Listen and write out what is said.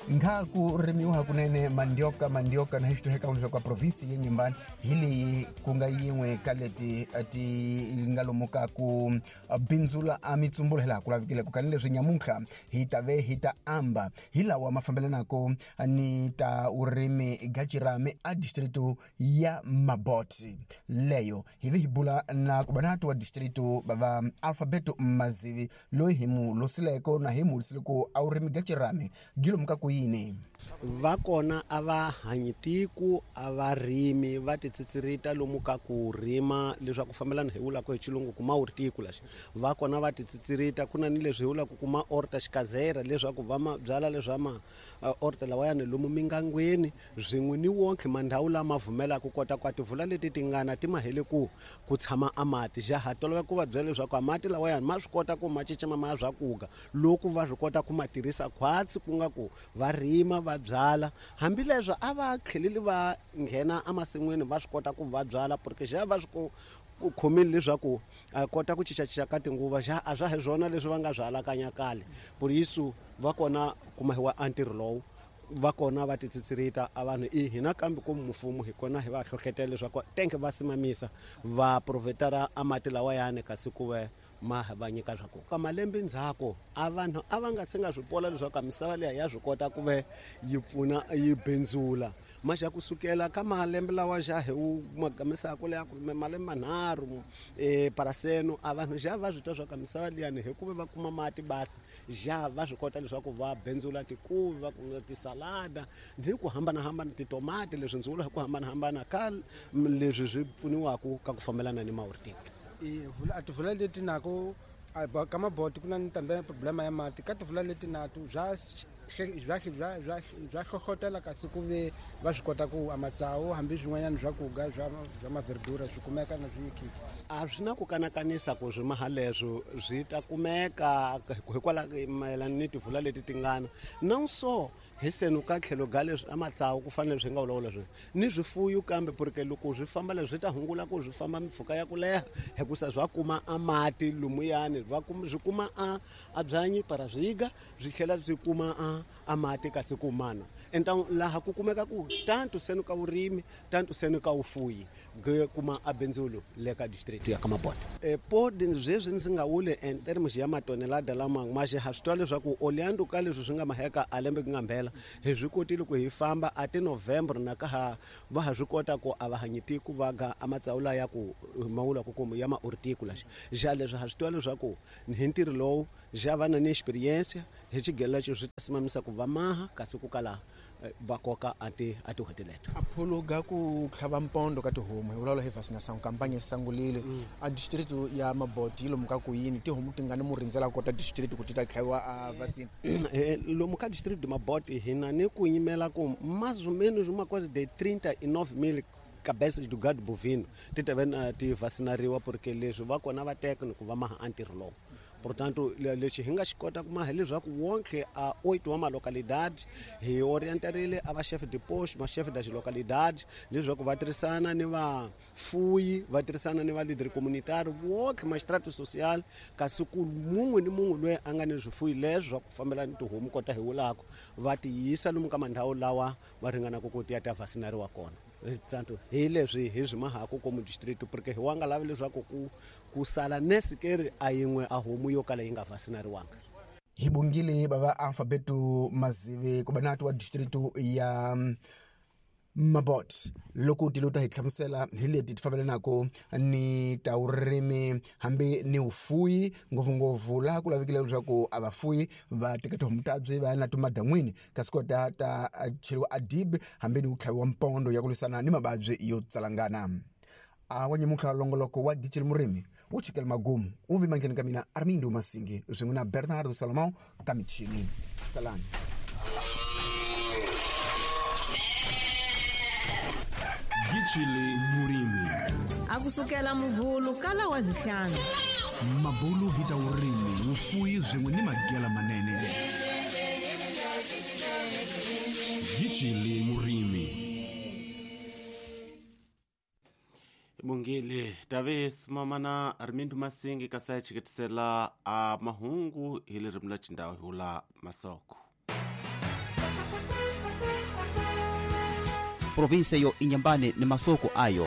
Nkha ku rimiwa hakunene mandioka mandioka na hi xitoheka leswaku a provinsi ya Inhambane hi leyi ku nga yin'we ka leti ti nga lomu ka ku bindzula a mitsumbulo hi laha ku lavikileko. Kani leswi nyamuntlha hi ta ve hi ta amba hi lawa ma fambelanaka ni ta vurimi ga Cirami a district ya Mabote. Leyo hi ve hi bula na kubanatu wa district va Alfabeto Mazivi loyi hi mu losileko na hi mu losileko a vurimi ga Cirami gi lomu ka ku yini. Va kona a va hanyi tiko a va rimi va titsitsirita lomu ka ku rima leswaku fambelana hi vulaka hi xilungu kuma wu ri tiko lexi. Va kona va titsitsirita ku na ni leswi hi vulaka kuma orta xikazera leswaku va ma byala leswa ma orta lawayani lomu mingangweni swin'we ni wonke mandhawu lama vumelaka kota ku tivula leti tingana ti mahele ku ku tshama a mati. Ja ha tolovela ku va byela leswaku a mati lawayani ma swi kota ku ma cinca ma ya swakuga loko va swi kota ku ma tirhisa khwatsi ku nga ku va rima va byala. Hambileswo a va tlheleli va nghena emasin'wini va swi kota ku va byala porque ja va swi ku khomile leswaku a kota ku cincacinca ka tinguva ja a swa hi swona leswi va nga swi alakanya kale. Por isso va kona kumahiwa a ntirho lowu va kona va titsitsirita a vanhu i hina kambe ku mfumo hi kona hi va hlohlotela leswaku tenke va simamisa va provhetara a mati lawayani kasi ku ve ma va nyika swa ku ka malembe ndzhaku a vanhu a va nga se nga swi pola leswaku misava liya ya swi kota ku ve yi pfuna yi bindzula. Maxa kusukela ka malembe lawa xa hi wu magamisaka leya ku malembe manharhu paraseno a vanhu xa va swi twa swa ka misava liyani hikuva va kuma mati basi ja va swi kota leswaku va bindzula tikuvi va kuma tisalada ni ku hambanahambana titomati leswi ndzi vulaka ku hambanahambana ka leswi swi pfuniwaka ka ku fambelana ni maurtiki. A tivula leti nako ka maboti ku na ni tambe problema ya mati ka tivula leti natu bya bya bya bya bya hlohlotela kasi ku ve va swi kota ku a matsawu hambi swin'wanyana swa ku ga swa swa maverdura swi kumeka na swi nyikiwa. A swi na ku kanakanisa ku swimaha leswo swi ta kumeka hikwalaho mayelana ni tivula leti tingana na so hi senu ka tlhelo ga leswi a matsawu ku fanele swi nga vulavula swona ni swifuyo kambe porque loko swi famba leswi swi ta hungula ku swi famba mpfhuka ya ku leha hikusa swa kuma a mati lumuyani va kuma swi kuma a a byanyi para swiga swi tlhela swi kuma a a mati kasi ku mana. Então laha ku kumeka ku tanto senu ka vurimi tanto senu ka vufuyi ge kuma a bindzulo le ka district ya ka Mabote. Po sweswi ndzi nga wuli en terms ya matonelada lama ma xi ha swi twa leswaku oleando ka leswi swi nga maheka a lembe ku nga mbhela hi swi kotile ku hi famba a ti November na ka ha va ha swi kota ku a va hanyi tiko va ga a matsawu la ya ku mawula ku kuma ya maurtiku laxa. Ja leswi ha swi twa leswaku hi ntirho lowu ja va na ni experience hi xigelo lexi swi ta simamisa ku va maha kasi ku kala va koka a ti a tihuti leto. A phuluga ku tlhava mpondo ka tihomu hi vulavula hi vaccination campaign sangulile a district ya Mabote yi lomu ka ku yini tihomu ti nga ni mu rindzela kota district ku ti ta tlhaviwa a vaccine. Lomu ka district de Mabote hi na ni ku yimela ku mais ou menos uma coisa de 39 000 cabeças do gado bovino ti ta va ti vacinariwa porque leswi va kona va teka ni ku va maha a ntirho lowu. Portanto lexi hi nga xi kota ku maha leswaku wonke a 8 wa malocalidade hi orientarile a va chef de poste ma chef das localidades leswaku va tirhisana ni vafuyi va tirhisana ni va leader communitaire wonke magistrato social kasi ku mun'we ni mun'we loyi a nga ni swifuyi leswi swa ku fambelana ni tihomu kota hi vulaka va ti yisa lomu ka mandhawu lawa va ringanaka ku ti ya ta vacinariwa kona. Tanto hi leswi hi swi mahaku komu district porque hi wa nga lavi leswaku ku ku sala nesikeri a yin'we a homu yo kala yi nga vacinariwanga. Hi bongile bava Alfabeto Mazivi ku banatu wa district ya Mabote loko ti lota hi hlamusela hi leti ti fambelanaka ni ta vurimi hambi ni vufuyi ngopfungopfu laha ku lavekile leswaku a vafuyi va teka tihomu ta byi va ya na timadan'wini kasi kota ta cheriwa a dib hambi ni ku tlhaviwa mpondo ya ku lwisana ni mavabyi yo tsalangana. A wa nyamuntlha longoloko wa Gicile Murimi wu chikela magumu wu vi mandleni ka mina Armindo Masingi swin'we na Bernardo Salomão ka michini. Salani. Gicile Murimi. A kusukela muvhulu kala wa zihlanu. Mabulu hi ta vurimi vufuyi swin'we ni magela manene. Gicile Murimi. Bongile tave simamana Armindo Masingi kasi a chiketisela a mahungu hi ririmi la xindhawu hi vula masoko. Província yo Inhambane ni masoko ayo.